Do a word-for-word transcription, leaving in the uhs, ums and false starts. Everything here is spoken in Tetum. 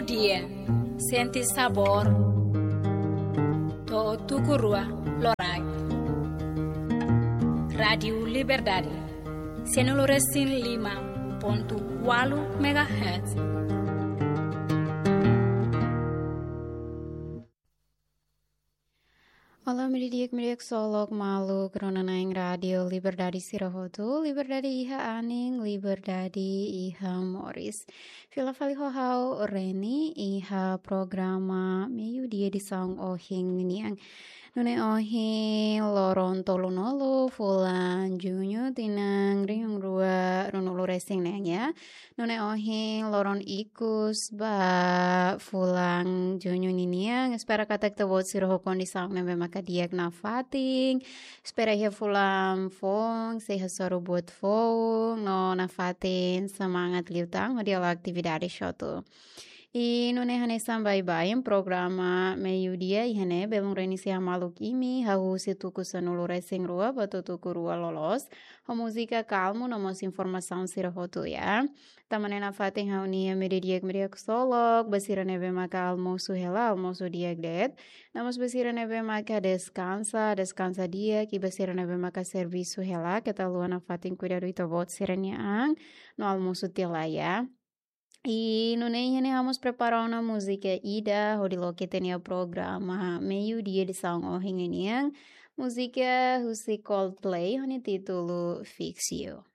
Dia, sente sabór. To'o tuku rua loraik. Rádiu Liberdade, sanulu resin lima pontu ualu megahertz. Olá, meiudia di'ak, meiudia ksolok maluk rona-na'in Rádiu Liberdade sira hotu, liberdade iha anin, liberdade iha moris. Fila fali ho ha'u Reni iha programa Meiudia edisaun ohin nian. Nune'e ohin loron tolunulu fulan Juñu tinan rihun rua ruanulu resin neen ya. Nune'e ohin loron ikus ba fulan Juñu ninian. Espera katak ita-boot sira ho kondisaun ne'ebé maka di'ak nafatin. Espera iha fulan foun sei hasoru buat foun no nafatin semangat liután hodi halo atividade hotu. I nune'e hanesan baibain programa Meiudia iha ne'e, belun Reni sei hamaluk imi, hahú husi tuku sanulu resin rua ba to'o tuku rua loloos, ho múzika kalmu no mós informasaun sira hotu ya. Tanba ne'e nafatin ha'u-nia meiudia di'ak, meiudia ksolok, ba sira ne'ebé maka almosu hela, almosu di'ak de'it. No mós ba sira ne'ebé maka deskansa, deskansa di'ak, i ba sira ne'ebé maka servisu hela, keta haluha nafatin kuidadu ita-boot sira-nia an, no almosu tiha lai ya. I nune'e iha ne'e ha'u mós prepara ona múzika ida hodi loke ita-nia programa Meiudia edisaun ohin nian. Múzika husi Coldplay ho nia títulu Fix You.